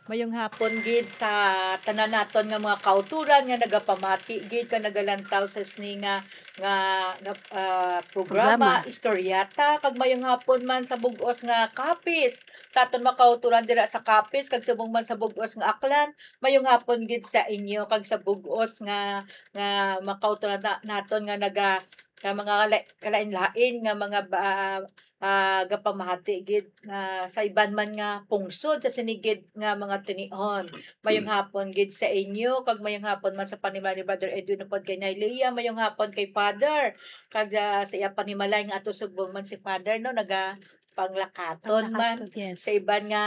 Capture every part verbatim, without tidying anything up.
Mayong hapon gid sa tanan naton nga mga kauturan nga nagapamati gid ka nagalantaw sa sini nga, nga, nga, ah, programa, Programa. Istoryata, kag mayong hapon man sa bug-os nga Capiz. Sa aton mga kauturan dira sa Capiz, kag subong man sa bug-os nga Aklan, mayong hapon gid sa inyo, kag sa bug-os nga, nga mga kauturan na, naton nga naga, nga mga kala-, kalain-lain nga mga ba-, ah, gapamati gid nga sa iban man nga pungsod sa sini gid nga mga tinion. Mayong hapon gid sa inyo, kag mayong hapon man sa panimalay ni Brother Edwin upod kay Nay Leah. Mayong hapon kay Father, kag, ah, sa iya panimalay nga ato subong man si Father, no, naga panglakaton man Panglakaton, yes. sa iban nga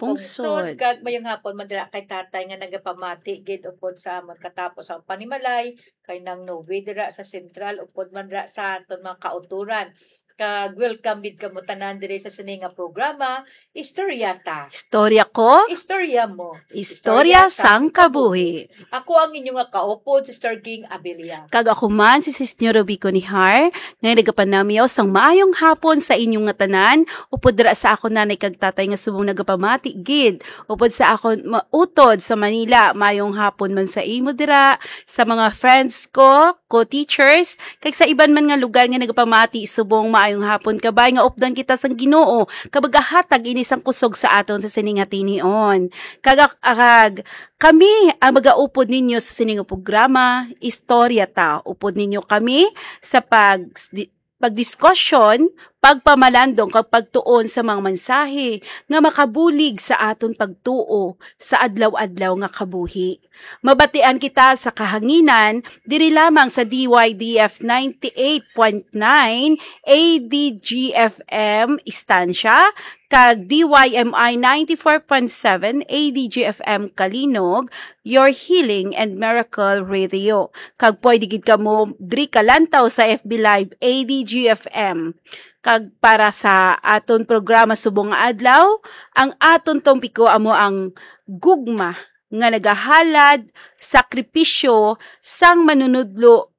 pungsod, Pungsod. kag mayong hapon man dira kay Tatay nga nagapamati gid upod sa amon katapos ang panimalay kay Nang Noe dira sa Central, upod man dira sa aton mga kauturan. Kag welcome gid kamo tanan diri sa sini nga programa, Istorya Ta. Istorya ko, Istorya mo. Istorya Istorya sang sang kabuhi. Ako ang inyo nga kaupod, Sister Ging Abilia. Kag ako man, si Sis Nyo Rubico Nihar, nga nagapanamyaw sang maayong hapon sa inyo nga tanan, upod dira sa akon nanay kag tatay nga subong nagapamati gid, upod sa akon mautod sa Manila, maayong hapon man sa imo dira, sa mga friends ko, co-teachers, kag sa iban man nga lugar nga nagapamati subong maayong hapon, kabay nga updan kita sang Ginoo, kag magahatag ini sang kusog sa aton sa sini nga tinion. Kag, kag kami ang magaupod ninyo sa sini nga programa, Istorya Ta. Upod ninyo kami sa pag-, pagdiskusyon, pagpamalandong, kag pagtuon sa mga mensahe nga makabulig sa aton pagtuo sa adlaw-adlaw nga kabuhi. Mabatian kita sa kahanginan diri lamang sa D Y D F ninety-eight point nine A D G F M Estancia, kag D Y M I ninety-four point seven A D G F M Calinog, your healing and miracle radio. Kag pwede gid kamo diri kalantaw sa F B Live A D G F M. Kag para sa aton programa subong nga adlaw, ang aton tompiko amo ang gugma nga nagahalad, sakripisyo sang manunudlo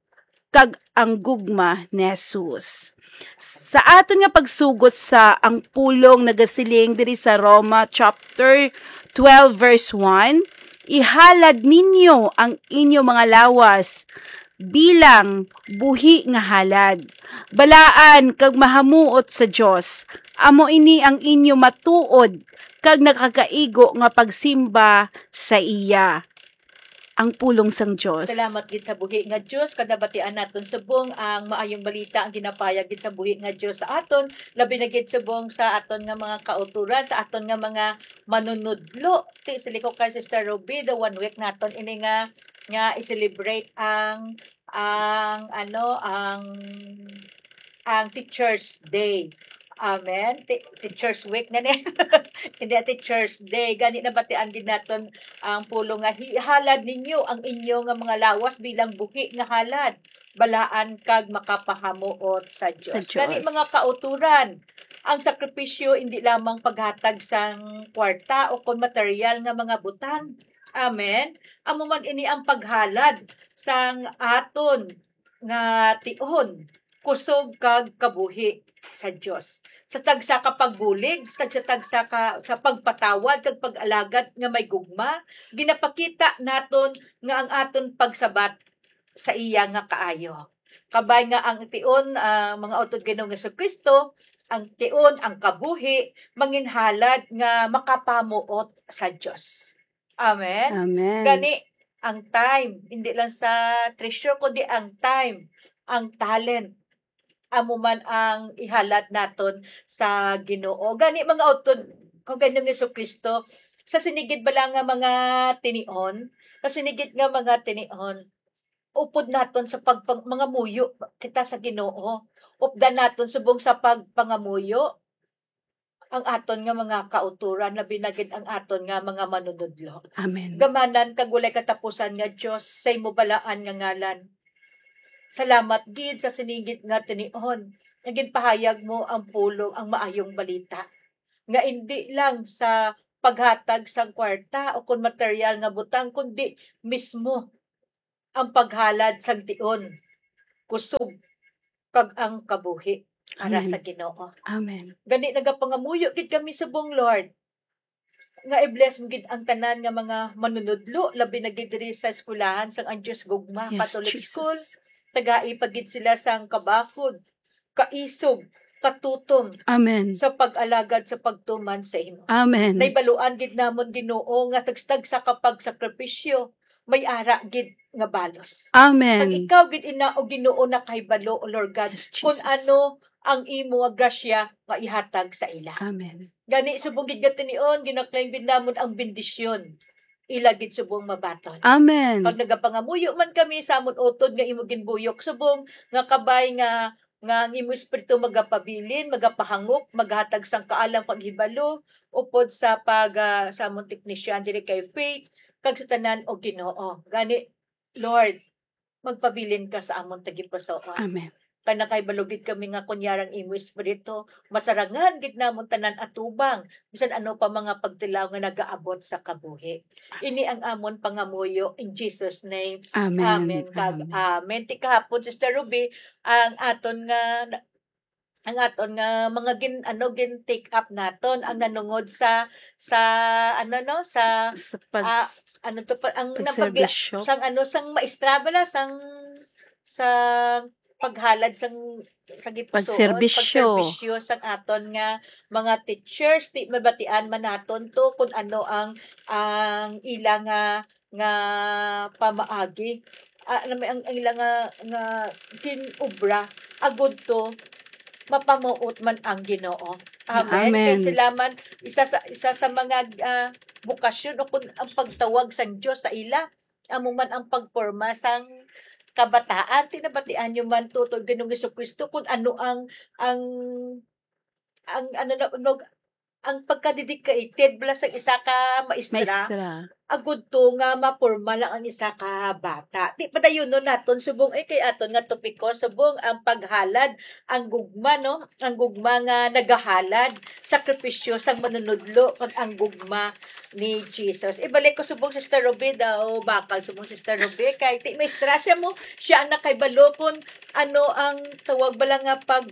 kag ang gugma ni Jesus. Sa aton nga pagsugot sa ang pulong nagasiling diri sa Roma chapter twelve verse one, "Ihalad ninyo ang inyo mga lawas bilang buhi nga halad, balaan kag mahamuot sa Dios. Amo ini ang inyo matuod kag nakakaigo nga pagsimba sa iya." Ang pulong sang Dios. Salamat gid sa buhi nga Dios, kag nabatian naton subong ang maayong balita, ang ginapahayag gid sa buhi nga Dios sa aton, labi na gid subong sa aton nga mga kauturan, sa aton nga mga manunudlo. Ti, siling ko kay Sister Ruby, the one week naton ini nga, nga i-celebrate ang, ang, ano, ang, ang Teacher's Day. Amen. Ti-, Teacher's Week na ni. Hindi, Teacher's Day. Gani nabatian gid naton ang pulong nga, "Ihalad ninyo ang inyo nga mga lawas bilang buhi nga halad, balaan kag makapahamuot sa Sa Dios." Gani, Dios. Mga kauturan, ang sakripisyo hindi lamang paghatag sang kwarta o kon material nga mga butang. Amen. Amo man ini ang paghalad sang aton nga tion, kusog kag kabuhi sa Dios. Sa tagsa ka pagbulig, sa tagsa-tagsa ka, sa pagpatawad kag pag-alagad nga may gugma, ginapakita naton nga ang aton pagsabat sa iya nga kaayo. Kabay nga ang tion, ah, mga utod Ginoong Jesu-Cristo, ang tion, ang kabuhi, manginhalad nga makapamuot sa Dios. Amen? Amen. Gani, ang time, hindi lang sa treasure, kundi ang time, ang talent, amo man ang ihalad naton sa Ginoo. Gani, mga utod, kung Ginoong Jesu-Cristo, sa sini gid bala nga mga tinion, sa sini gid nga mga tinion, upod naton sa pagpang-, mga muyo kita sa Ginoo. Updan naton subong sa pagpangamuyo ang aton nga mga kauturan, labi na gid ang aton nga mga manunudlo. Amen. Gamanan kag walay katapusan nga Dios, sa imo balaan nga ngalan. Salamat gid sa sini gid nga tinion nga ginpahayag mo ang pulong, ang maayong balita, nga indi lang sa paghatag sang kwarta o kon material nga butang, kundi mismo ang paghalad sang tion, kusog, kag ang kabuhi para Amen. Sa Ginoo. Amen. Gani nagapangamuyo gid kami subong, Lord, nga i-bless mo gid ang tanan nga mga manunudlo, labi na gid diri sa eskwelahan sang Ang Diyos Gugma Yes, Catholic Jesus. School. Tagai pa gid sila sang kabakod, kaisog, katutom Amen. Sa pag-alagad sa pagtuman sa imo. Amen. Naibaluan gid namon, Ginoo, nga tagsa-tagsa ka pagsakripisyo may ara gid nga balos. Amen. Kag ikaw gid ina, o Ginoo, nakahibalo, O Lord God, Yes, kung Jesus. Ano ang imo nga grasya nga ihatag sa ila. Amen. Gani, subong gid nga tinion, ginaklaim gid namon ang bendisyon. Ila gid subong mabaton. Amen. Pag nagapangamuyo man kami sa amon utod nga imo ginbuyok, subong nga kabay nga, nga ang imo espiritu magapabilin, magapahangop, maghatag sang kaalang paghibalo, upod sa pag, ah, sa amon teknisyan diri kay Faith, kag sa tanan, O Ginoo. Gani, Lord, magpabilin ka sa amon tagipusoon. Amen. Kay nakahibalo gid kami nga kunyarang imo espiritu, masarangan gid namon tanan atubang, bisan ano pa mga pagtilaw nga nagaabot sa kabuhi. Ini ang amon pangamuyo in Jesus' name. Amen. Amen. Kag Amen. Amen. Ti kahapon, Sister Ruby, ang aton nga, ang aton nga mga gin-, ano, gin-take up naton ang nanungod sa, sa, ano, no, sa, Sa pag- ah, ano to pa, ang napagla-, pagserbisyo. Sang, ano, sang maestra bala, sang, sa paghalad sang, sa gipusoon, Pagserbisyo. Pagserbisyo sang aton nga mga teachers, ti mabatian man naton to kung ano ang, ang ila nga, nga pamaagi. Ah, ano may ang, ang ila nga, nga ginobra, agud to mapamuot man ang Ginoo. Amen. Amen. Kay sila man, isa sa, isa sa mga, ah, bukasyon o kun ang pagtawag sang Dios sa ila, amo man ang pagporma sang kabataan. Ti nabatian nyo man, tutoy Ginoong Jesucristo, kung ano ang, ang, ang, ano na, no, ang pagka-dedicated bala sang isa ka maestra, Maestra. Agud to nga maporma lang ang isa ka bata. Di padayonon naton subong, eh, kay aton nga topiko, subong ang paghalad, ang gugma, no? Ang gugma nga nagahalad, sakripisyo sang manunudlo, kag ang gugma ni Jesus. Ibalik ko subong, Sister Ruby daw, bakal subong, Sister Ruby, kay ti maestra siya mo, siya ang nakahibalo kung ano ang tawag bala nga pag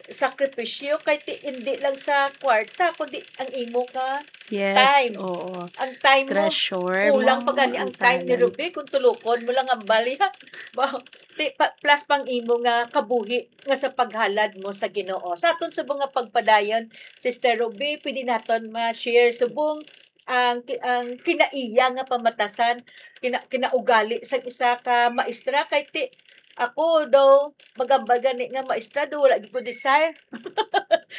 sakripisyo, kay ti, hindi lang sa kwarta, kundi ang imo nga Yes, time. Oo. Ang time mo, Treasure kulang mo pa gani ang ang time ni talent. Ruby kung tulukon mo lang ang bali, ha? Ba, ti, pa, plus pang imo nga kabuhi nga sa paghalad mo sa Ginoo. Sa aton subong nga pagpadayon, Sister Ruby, pwede naton ma-share subong ang ki-, ang kinaiya nga pamatasan, kina-, kinaugali sang isa ka maestra, kay ti, ako daw, magambal gani nga maestra, daw wala gyud ko desire.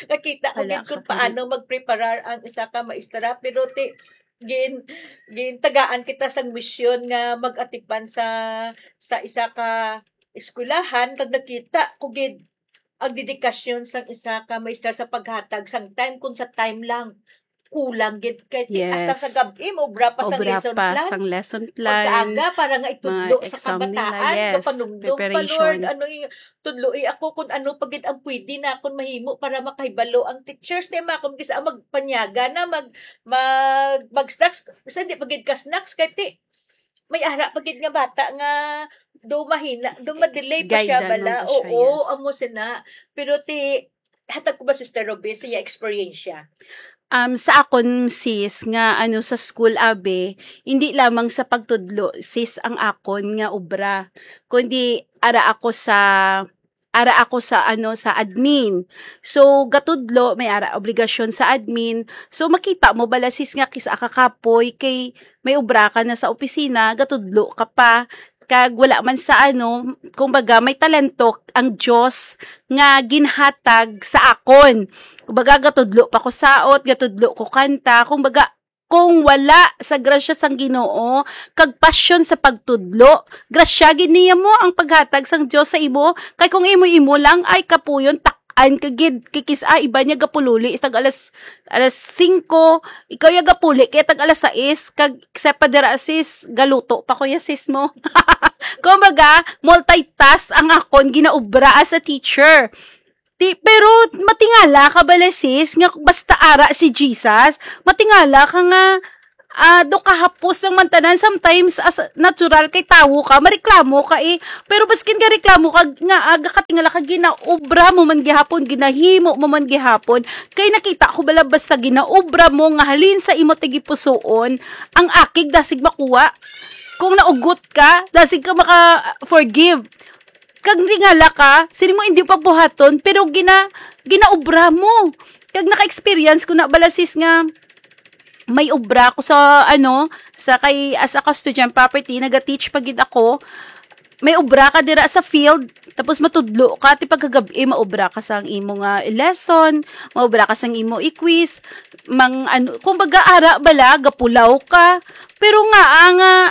Nakita ko Wala gid kung ka paano magpreparar ang isa ka maestra, pero ti, gin-, gintagaan kita sang misyon nga mag-atipan sa, sa isa ka eskwelahan, kag nakita ko gid ang dedikasyon sang isa ka maestra sa paghatag sang time, kung sa time lang, kulang gid kay ti-, hasta Yes. sa gab-i, maobra pa sang Obra lesson pa plan. sang lesson plan, Pagkaaga, para nga mga itudlo sa exam nila, kabataan, yes, kapanumdum pa, preparation. Lord, ano yung, tudloi ako kung ano pa gid ang pwede na akon mahimo para makahibalo ang teachers. Ti makon gid sa magpanyaga na, mag, mag, mag-snacks. Kasi hindi pa gid ka snacks, kay ti, may ara pa gid nga bata nga do mahina, do madelay pa Guide siya na bala. lang siya, Oo, yes. amo sina. Pero ti, hatag ko ba, Sister Ruby, sa iya eksperyensya? Um, sa akon, sis, nga, ano, sa school, abi, hindi lamang sa pagtudlo, sis, ang akon nga obra, kundi ara ako sa, ara ako sa, ano, sa admin. So, gatudlo, may ara obligasyon sa admin. So, makita mo bala, sis, nga kis-a ka kapoy kay may obra ka na sa opisina, gatudlo ka pa. Kag wala man sa, ano, kumbaga, may talento ang Dios nga ginhatag sa akon. Kumbaga, gatudlo pa ko saot, gatudlo ko kanta. Kumbaga, kung wala sa grasya sang Ginoo, kag pasyon sa pagtudlo, grasya gid niya mo ang paghatag sang Dios sa imo. Kay kung imo-imo lang, ay kapuyon, tak-an ka gid. Kay kis-a iba niya gapululi tag alas, alas singko, ikaw ya gapuli kay tag alas sais, kag sa pa dira, sis, galuto pa ko ya, sis mo. Kumbaga, multitask ang akon ginaobra as a teacher. Ti, pero matingala ka bala, sis, nga basta ara si Jesus, matingala ka nga ah, do kahapos lang man tanan. Sometimes, as natural kay tawo ka, mareklamo ka, eh. Pero baskin ka reklamo ka, nga, ah, gakatingala ka, ginaobra mo man gihapon, ginahimo mo man gihapon. Kay nakita ko bala, basta ginaobra mo nga halin sa imo tagipusoon, ang akig dasig makuha. Kung naugot ka, dasig ka maka-forgive. Kag tingala ka, sini mo hindi pa buhaton, pero gina-, ginaobra mo. Kag naka-experience ko na bala, sis, nga may obra ko sa, ano, sa kay, as a custodian property, naga-teach pa gid ako. May obra ka dira sa field, tapos matudlo ka, ti pagkagabi, maobra ka sang imo nga lesson, maobra ka sang imo i-quiz, mang, ano, kumbaga, ara bala, gapulaw ka. Pero nga, ang, ah,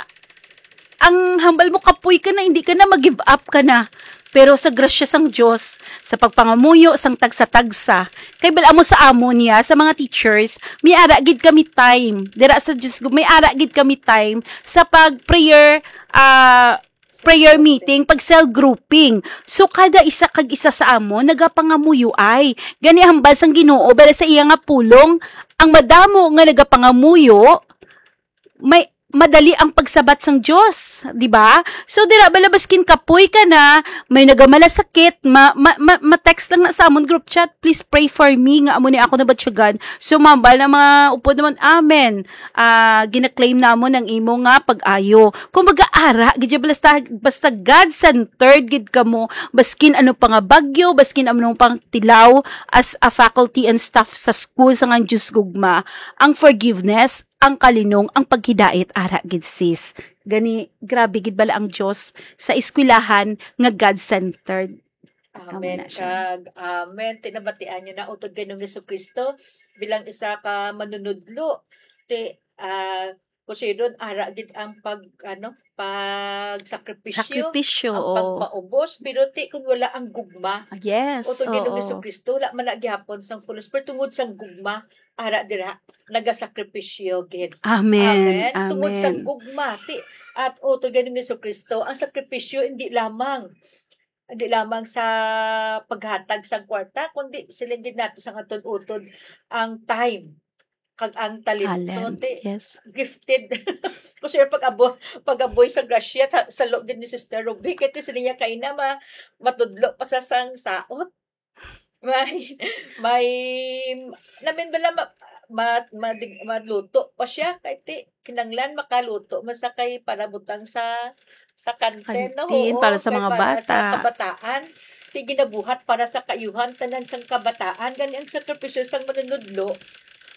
ang hambal mo, kapoy ka na, hindi ka na, mag-give up ka na. Pero sa grasya sang Dios, sa pagpangamuyo sang tagsa-tagsa, kay bal-, amo sa amon niya, sa mga teachers, may ara gid kami time. Dira sa Dios, may ara gid kami time sa pag-prayer, ah, prayer meeting, pag cell grouping. So, kada isa kag isa sa amon, nagapangamuyo ay. Gani hambal sang Ginoo, bala sa iya nga pulong, ang madamo nga nagapangamuyo, may madali ang pagsabat sang Dios, di ba? So, dira bala baskin kapoy ka na, may nagamalasakit, ma-, ma-, ma-, ma-text lang na sa amon group chat, "Please pray for me," nga amo ni ako nabatyagan. So, mambal na mga upod naman, "Amen." Ah, gina-claim namon ang imo nga pag-ayo. Kumbaga, ara, gid siya, basta, basta God-centered gid kamo, baskin ano pa nga bagyo, baskin ano pang tilaw, as a faculty and staff sa school sa ngan Dios gugma, ang forgiveness, ang kalinong, ang paghidait, ara gid, sis. Gani, grabe gid bala ang Dios sa eskwelahan nga God-centered. Amo Amen na siya. Kag amen. Ti nabatian niyo na utod kay Ginoong Jesu-Cristo bilang isa ka manunudlo. Ti, ah, kung siya doon, ara gid ang pag, ano, pagsakripisyo, Sakripisyo, ang oo. pagpaubos, pero ti kung wala ang gugma, Ah, yes, utod kay Ginoong oo. Jesu-Cristo, wala man na gihapon sang pulos, pero tungod sang gugma, ara dira, nagasakripisyo gid. Amen. Amen. Tungod sang Amen. gugma, ti, at utod kay Ginoong Jesu-Cristo, ang sakripisyo hindi lamang, hindi lamang sa paghatag sang kwarta, kundi siling gid nato sang utod-utod ang time kag ang talento, Talent. ti, Yes. gifted. Kung siya pag-abo-, pag-aboy sa grasya, sa, sa loob din ni Sister Ruby, kaya ti sila niya kaina, ma-, matudlo pa sa sang saot. May, may, namin bala ma-, ma-, ma-, maluto pa siya, kay ti, kinanglan makaluto man sa kay para butang sa, sa kantin, no? Kantin, Oo, para sa kay mga para sa bata. kabataan. Ti ginabuhat para sa kaayuhan tanan sang kabataan. Gani ang sakripisyo sang manunudlo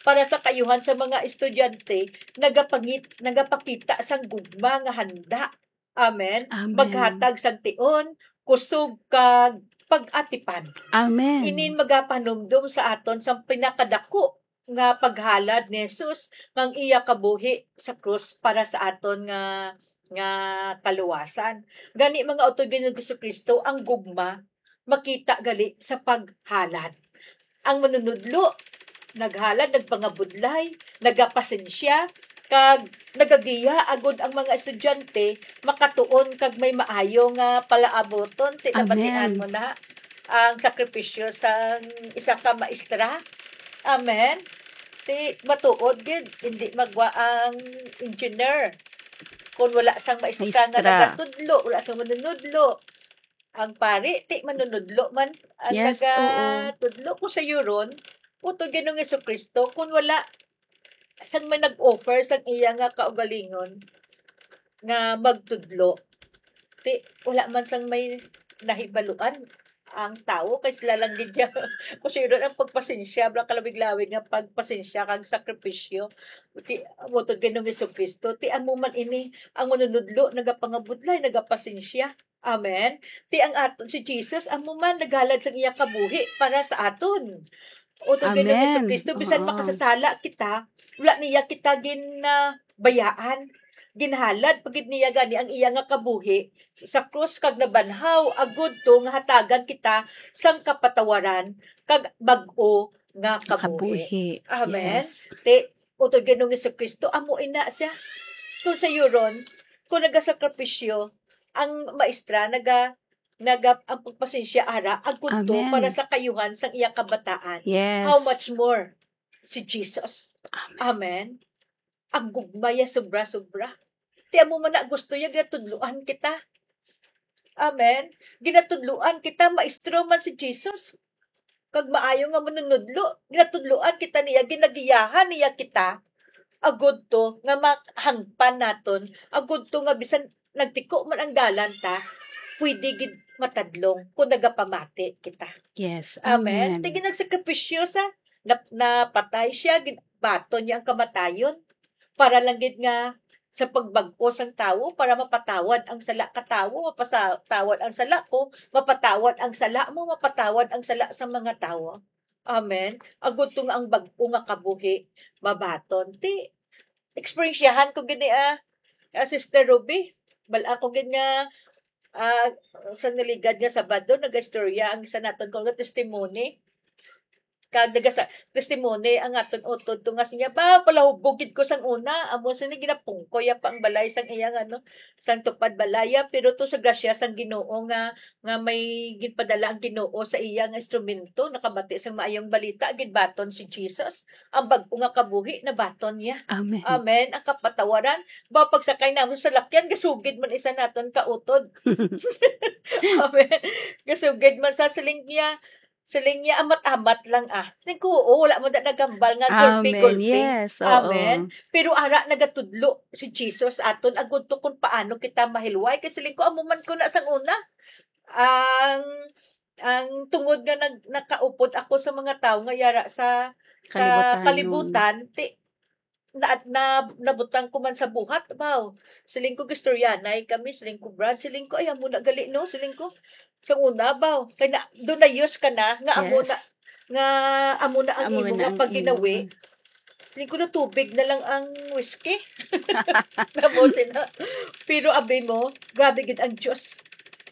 para sa kaayuhan sa mga estudyante, nagapangit-, nagapakita sang gugma nga handa. Amen. Amen. Maghatag sang tion, kusog, kag pag-atipan. Amen. Inin magapanumdom sa aton sang pinakadako nga paghalad ni Jesus, nga ang iya kabuhi sa krus para sa aton nga, nga kaluwasan. Gani, mga utod ni Jesu-Cristo, ang gugma makita gali sa paghalad. Ang manunudlo naghalad, nagpangabudlay, nagapasensya, kag nagagiya agud ang mga estudyante makatuon kag may maayo nga palaabuton. Ti nabatian Amen. mo na ang sakripisyo sang isa ka maestra. Amen. Ti matuod gid, hindi magwa ang engineer kung wala sang maestra nga Maestra. nagatudlo, wala sang manunudlo. Ang pari, ti manunudlo man ang Yes, oo. nagatudlo. Kung sa yuron, utod Ginoong Jesu-Cristo, kung wala sang may nag-offer sang iya nga kaugalingon nga magtudlo, ti wala man sang may nahibaluan ang tawo, kay sila lang gid ya-, kung sino ang pagpasensya, bala kalawig-lawig nga pagpasensya kag sakripisyo. Ti, utod Ginoong Jesu-Cristo, ti amo man ini ang manunudlo, nagapangabudlay, nagapasensya. Amen. Ti ang aton si Jesus, amo man naghalad sang iya kabuhi para sa aton. Utod Ginoong Amen. Jesu-Cristo, bisan Oo. makasasala kita, wala niya kita gin, ah, bayaan. Ginhalad pa gid niya gani ang iya nga kabuhi sa krus kag nabanhaw, agud to nga hatagan kita sang kapatawaran kag bag-o nga kabuhi. Kabuhi. Amen. Yes. Ti, utod Ginoong Jesu-Cristo, amo ina siya. Kung sa yuron, kung nagasakripisyo, ang maestra naga-, naga-, ang pagpasensya ara, agud to Amen. para sa kaayuhan sang iya kabataan. Yes. How much more si Jesus? Amen. Amen. Ang gugma ya sobra-sobra. Ti amo man na gusto ya ginatudloan kita. Amen. Ginatudloan kita, maestro man si Jesus. Kag maayo nga manunudlo, ginatudloan kita niya, ginagiyahan niya kita, agud to nga mahangpan naton, agud to nga bisan nagtiko man ang dalan ta, pwede gid matadlong kung nagapamati kita. Yes. Amen. Amen. Ti ginagsakripisyo sa nap- napatay siya, gin- baton niya ang kamatayon para lang gid nga sa pagbag-o sang tawo, para mapatawad ang sala ka tawo, mapatawad ang sala ko, mapatawad ang sala mo, mapatawad ang sala sa mga tawo. Amen. Agud to nga ang bag-o nga kabuhi mabaton. Ti eksperyensyahan ko gid ni, ah, ah, Sister Ruby. Bal ako gid nga ah, sa naligad nga Sabado, nagastorya ang isa naton ko nga testimony. Kag nagasa testimony ang aton utod to nga siya, "Ba, palahubog gid ko sang una." Amo sini, ginapungkoy ya pa ang balay sang iya nga, ano, sang tupad balaya, pero to sa grasya sang Ginoo nga, nga may ginpadala ang Ginoo sa iya nga instrumento, nakabati sang maayong balita, ginbaton si Jesus. Ang bag-o nga kabuhi nabaton niya. Amen. Amen. Ang kapatawaran, ba, pagsakay namon sa lakyan, gasugid man isa naton kautod. Amen. Gasugid man sa siling niya, siling niya, "Amat-amat lang, ah." Siling ko, "Oo, wala man da nagambal nga gulpi-gulpi." Amen. Yes. Oo. Amen. Pero ara nagatudlo si Jesus aton agud to kung paano kita mahilway. Kay siling ko, amo man ko na sang una. Ang ang tungod nga nag nakaupod ako sa mga tawo nga yara sa sa Kalibutan. Kalibutan, ti na, na, nabutang ko man sa buhat, baw. Siling ko, gistoryanay kami, siling ko, "Brad," siling ko, "Ay, amo na gali, no?" Siling ko, sa una, baw. Kay na, doon na use ka na, nga amo na, Yes. nga amo na ang Amo imo na nga ang paginawi. imo. Siling ko, "Na tubig na lang ang whiskey." Namo sina. Pero abi mo, grabe gid ang Diyos.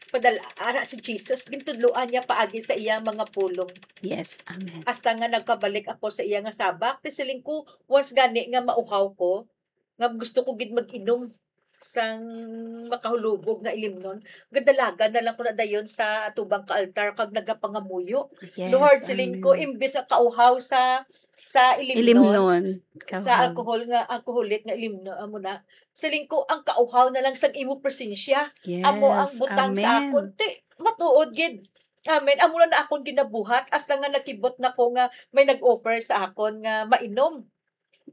Padala, ara si Jesus, gintudloan niya paagi sa iyang mga pulong. Yes. Amen. Hasta nga nagkabalik ako sa iya nga sabak, ti siling ko, once gani nga mauhaw ko, nga gusto ko gid mag-inom sang makahulubog nga ilimnon, gadalagan na lang ko na dayon sa atubang ka altar kag nagapangamuyo. Yes. Lord, siling ko, Amen. Imbis ang kauhaw sa sa ilimnon, Ilimnon. sa Kauhaw. alcohol nga alcoholic nga ilimnon, amo na. Siling ko, ang kauhaw na lang sang imo presensya. Yes. Amo ang butang sa Amen. akon. Ti, matuod gid. Amen. Amo lang na akon ginabuhat hasta nga nakibot na ko nga may nag-offer sa akon nga mainom.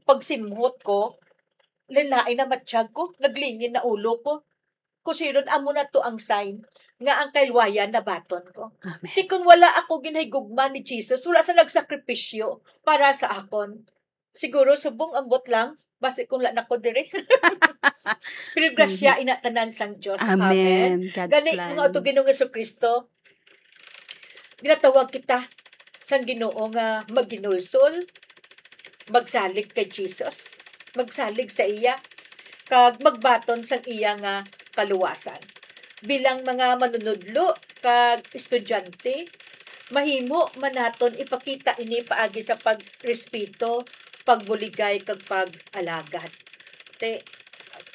Pagsimhot ko, lalain na matsyag ko, naglingin na ulo ko. Kusiron, amo na to ang sign nga ang kailwayan nabaton ko. Amen. Ti kung wala ako ginahigugma ni Jesus, wala sa nagsakripisyo para sa akon. Siguro subong ambot lang, basi kung la na ko diri. Pero grasya ina tanan sang Dios. Amen. Amen. God's Gani, plan. Mga utod Ginoong Jesucristo, ginatawag kita sang Ginoo nga maghinulsol, magsalig kay Jesus, magsalig sa iya, kag magbaton sang iya nga kaluwasan. Bilang mga manunudlo kag estudyante, mahimo man naton ipakita ini paagi sa pagrespeto, pagbuligay, kag pag-alagad. Ti,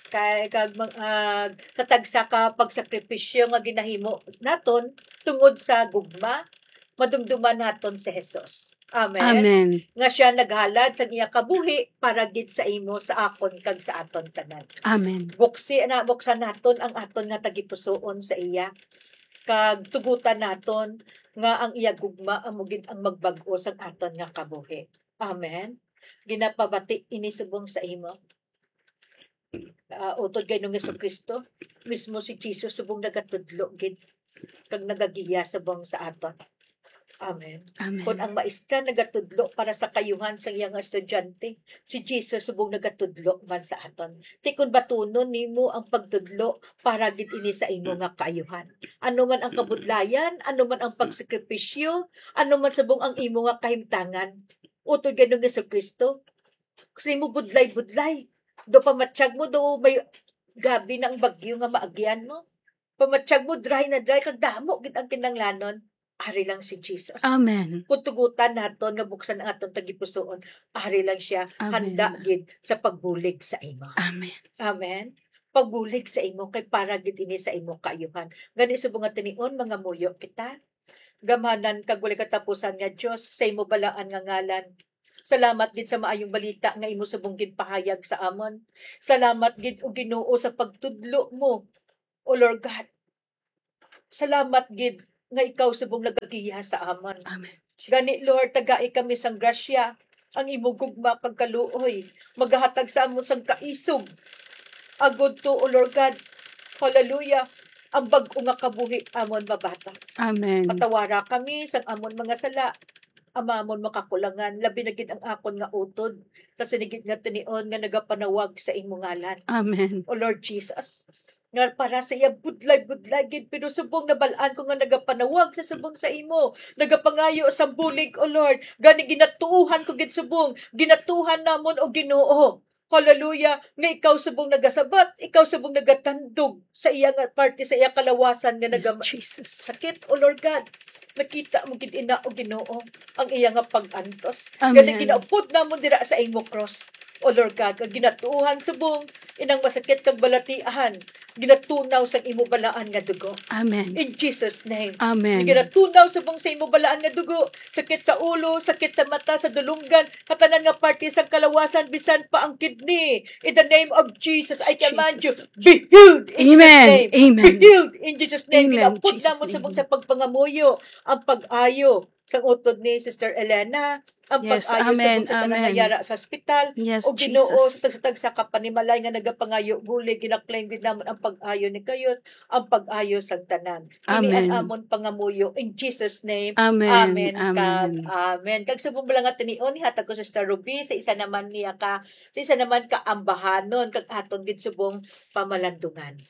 kay, kag mag-, ah, sa tagsa ka pagsakripisyo nga ginahimo naton tungod sa gugma, madumduman naton si Jesus. Amen. Amen. Nga siya naghalad sang iya kabuhi para gid sa imo, sa akon, kag sa aton tanan. Amen. Buksi na, buksan naton ang aton nga tagipusoon sa iya, kag tugutan naton nga ang iya gugma amo gid ang magbag-o sang aton nga kabuhi. Amen. Ginapabati ini subong sa imo. Ah, utod kay Ginoong Jesucristo, mismo si Jesus subong nagatudlo gid kag nagagiya subong sa aton. Amen. Amen. Kung ang maestra nagatudlo para sa kaayuhan sa iya nga estudyante, si Jesus subong nagatudlo man sa aton. Ti kon batunon nimo ang pagtudlo, para gid ini sa imo nga kaayuhan. Ano man ang kabudlayan, ano man ang pagsakripisyo, ano man subong ang imo nga kahimtangan, utod kay Ginoong Jesucristo, sa imo budlay-budlay, do pamatyag mo, do may gabi na ang bagyo nga maagyan mo. Pamatyag mo, dry na dry, kag damo gid ang kinahanglanon. Ari lang si Jesus. Amen. Kung tugutan naton nga buksan ang aton tagipusoon, ari lang siya, Amen. Handa gid sa pagbulig sa imo. Amen. Amen. Pagbulig sa imo, kay para gid ini sa imo kaayuhan. Gani, subong nga tinion, mangamuyo kita. Gamhanan kag walay katapusan nga Dios, sa imo balaan nga ngalan, Salamat gid sa maayong balita nga imo subong ginpahayag sa amon. Salamat gid, O Ginoo, sa pagtudlo mo, O Lord God. Salamat gid nga ikaw subong nagagiya sa amon. Amen. Gani, Lord, tagai kami sang grasya, ang imo gugma kag kaluoy, magahatag sa amon sang kaisog, agud to, O Lord God, hallelujah, ang bag-o nga kabuhi amon mabata. Amen. Patawara kami sang amon mga sala, amamon makakulangan, labi na gid ang akon nga utod, sa sinigit nga tinion nga nagapanawag sa imo ngalan. Amen. O Lord Jesus, nga para sa iya budlay-budlay gid, pero subong nabal-an ko nga nagapanawag sa subong sa imo, nagapangayo sa bulig, O Lord. Gani ginatuohan ko gid subong, ginatuohan namon, O Ginoo. Hallelujah, nga ikaw subong nagasabat, ikaw subong nagatandog sa iya nga parte, sa iya kalawasan nga naga- Yes, Jesus. sakit, O Lord God. Nakita mo gid ina, O Ginoo, ang iya nga pag-antos. Amen. Gani ginaupod namon dira sa imo cross, O Lord God, ang ginatuohan subong inang masakit kag balatian, ginatunaw sang imo balaan nga dugo. Amen. In Jesus' name. Amen. Ginatunaw subong sa imo balaan nga dugo, sakit sa ulo, sakit sa mata, sa dulunggan, sa tanan nga parte sang kalawasan, bisan pa ang kidney. In the name of Jesus, I Yes, command you, Jesus. Be healed in Jesus' Amen. name. Amen. Be healed in Jesus' name. Amen. Ginaupod Jesus' namon name. Subong sa pagpangamuyo ang pag-ayo sang utod ni Sister Elena, ang Yes, pag-ayo sa amen, kung sa tanan nga amen. yara sa ospital, Yes, o Ginoo, Jesus. sa tagsa-tagsa ka panimalay nga nagapangayo, guli, ginaklaim gid namon ang pag-ayo ni kayot, ang pag-ayo sang tanan. Ini ang Amen. amon pangamuyo in Jesus' name. Amen, Amen, kag amen. amen. Kag subong bala nga tinion, ihatag ko sa Sister Ruby, sa isa naman niya ka, sa isa naman ka ambahanon, kag aton gid subong pamalandungan.